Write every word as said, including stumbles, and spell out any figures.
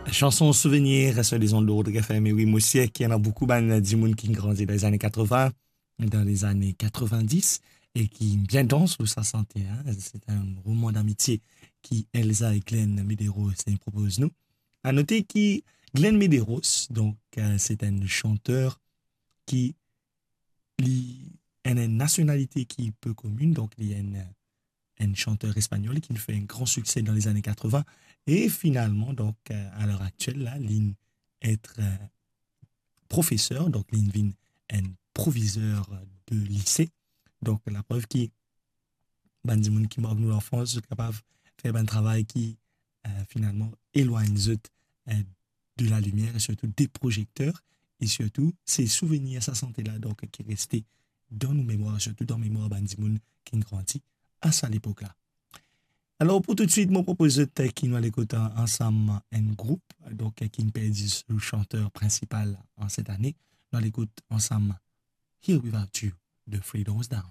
Chanson souvenir sur les ondes de Rodrigue F M. E wi, mo sir ki ena boukou bann dimoun ki grandi dan lezane katrevin, dan lezane katrevindis, e ki bien dans lor sa sante, hein. Se enn roman d'amitie ki Elsa e Glenn Medeiros propoz nou. A note ki Glenn Medeiros, donk, euh, se enn chanter ki li ena enn nasionalite ki pe komin, donk li enn, enn chanter espanyol ki fer enn gran sikse dan lezane katrevin, e finalman, donk, euh, a ler aktiel la, li et, euh, profeser, donk li vinn enn provizer de lise. Donk, laprev ki bann dimoun ki mark nou lanfans, zot kapav fer bann travay ki, euh, finalman, elwagn zot, euh, de lalimier e sirtou de prozekter, e sirtou, se souvenir sa sante la, donk, ki reste dan nou memwar, sirtou dan memwar bann dimoun ki grandi a sa lepok la. Alor, pou toutswit, mo propoz zot ki nou al ekout an-, ansam enn group, donk, ki perdi so chanter prinsipal an set ane. Nou al ekout ansam Here Without You de Three Doors Down.